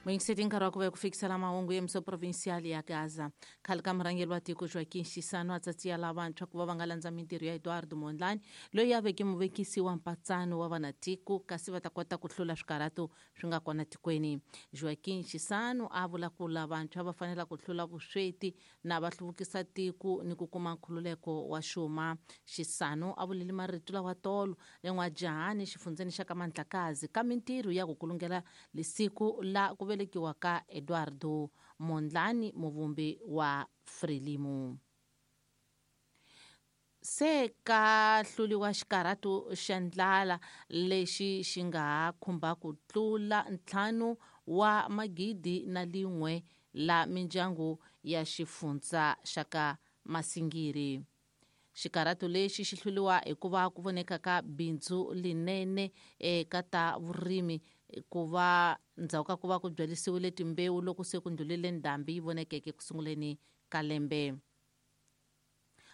Muyingiseti nkarhi wa ku va ku fikisela mahungu ya miso provincial ya Gaza. Khale ka murhangeri wa tiko Joaquim Chissano a tsatsiya lavantshwa ku va va nga landza mintirho ya Eduardo Mondlane loyi a veke muvekisi wa mpatsano wa vanatiko kasi va ta kota ku hlula swikarhato swi nga kona tikweni. Joaquim Chissano a vula ku lavantshwa va fanela ku hlula vusweti na va hluvukisa tiko ni ku kuma nkhululeko wa xuma. Chissano a vulele marito lawa tolo le N'wajahani xifundzeni xa ka Mandlakazi ka mintirho ya ku kulungela lisiku la ku velekiwa ka Eduardo Mondlane muvumbi wa Frelimo. Se ka hluliwa xikarhato xa ndlala lexi xi nga ha khumba ku tlula 5 wa magidi na lin'we la mindyangu ya xifundza xa ka Masingiri. Xikarhato lexi xi hluliwa hikuva ku voneka ka bindzu linene eka ta vurimi ku va ndzhaku ka ku va ku byalisiwile timbewu loko se ku ndlulile ndhambi yi vonekeke ku sunguleni ka lembe.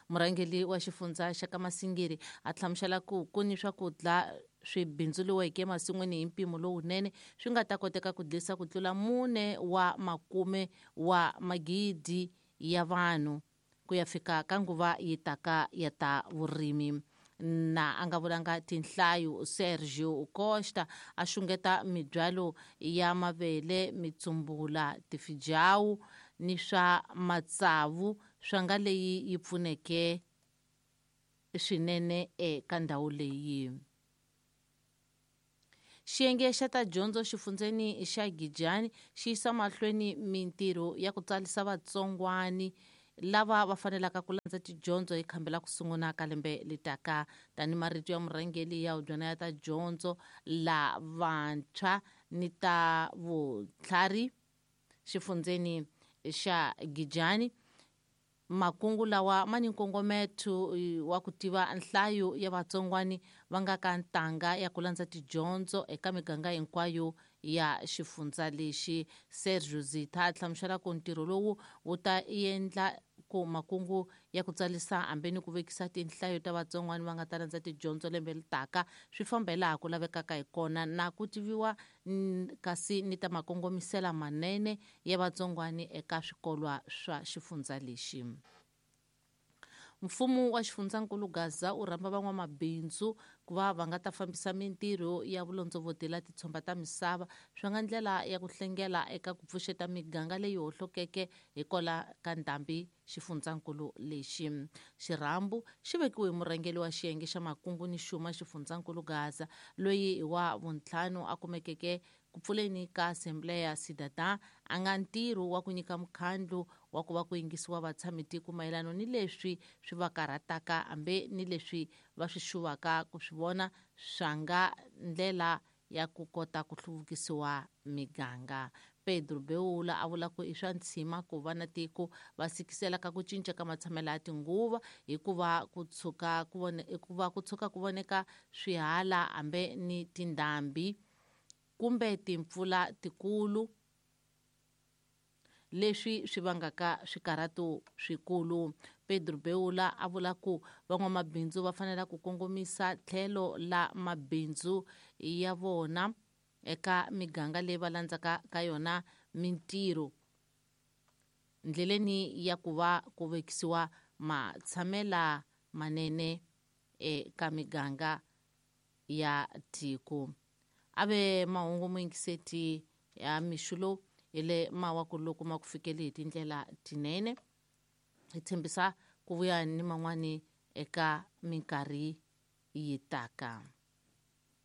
Murhangeri wa xifundza xa ka Masingiri a hlamusela ku ku ni swakudya swi bindzuriweke emasin'wini hi mpimo lowunene swi nga ta koteka ku dlisa ku tlula 4 wa makume wa magidi ya vanhu ku ya fika ka nguva yi taka ya ta vurimi. Na a nga vulanga tinhlayo Sergio Costa a xungeta mibyalo ya mavele, mitsumbula, tifijawu ni swa matsavu swa nga leyi yi pfuneke swinene eka ndhawu leyi. Xiyenge xa ta dyondzo xifundzeni xa Gijani xi yisa mahlweni mintirho ya ku tsarisa vatsongwani lava va fanelaka ku landza tidyondzo hi khambi la ku sungula ka lembe letaka. Tani marito ya murhangeri ya hubyana ya ta dyondzo la vantshwa ni ta vutlhari xifundzeni xa Gijani, makungu lawa ma ni nkongometo wa ku tiva nhlayo ya vatsongwani va nga ka ntanga ya ku landza tidyondzo eka miganga hinkwayo ya xifundza lexi. Sergio Zitha a hlamusela ku ntirho lowu wu ta endla ku makungu ya ku tsarisa hambi ni ku vekisa tinhlayo ta vatsongwani va nga ta landza tidyondzo lembe litaka swi famba hi laha ku lavekaka hi kona na ku tiviwa kasi ni ta makongomisela manene ya vatsongwani eka swikolwa swa xifundza lexi. Mfumo wa xifundzankulu Gaza wu rhamba van'wamabindzu ku va va nga ta fambisa mintirho ya vulondzovoti la titshomba ta misava swi nga ndlela ya ku hlengela eka ku pfuxeta miganga leyi hohlokeke hikola ka ndhambi xifundzankulu lexi. Xirhambu xi vekiwe hi murhangeri wa xiyenge xa makungu ni xuma xifundzankulu Gaza loyi hi wa vuntlhanu a kumekeke ku pfuleni ka Assembleia Cidadã a nga ntirho wa ku nyika mukhandlu wa ku va ku yingisiwa vatshamitiko mayelano ni leswi swi va karhataka hambi ni leswi va swi xuvaka ku swi vona swa nga ndlela ya ku kota ku hluvukisiwa miganga. Pedro Beula a vula ku i swa ntshima ku va na tiko va sikisela ka ku cinca ka matshamelo ya tinguva hikuva ku tshuka ku vone hikuva ku tshuka ku voneka swihala hambi ni tindhambi kumbe timpfula tikulu leswi swi vangaka swikarhato swikulu. Pedro Beula a vula ku van'wamabindzu va fanela ku kongomisa tlhelo la mabindzu ya vona eka miganga leyi va landzaka ka yona mintirho ndleleni ya ku va ku vekisiwa matshamela manene eka miganga ya tiko. Ave mahungu muyingiseti ya mixo lowu hi le mawaku loko ma ku fikeli hi tindlela tinene. Hi tshembisa ku vuya ni man'wani eka minkarhi yi taka.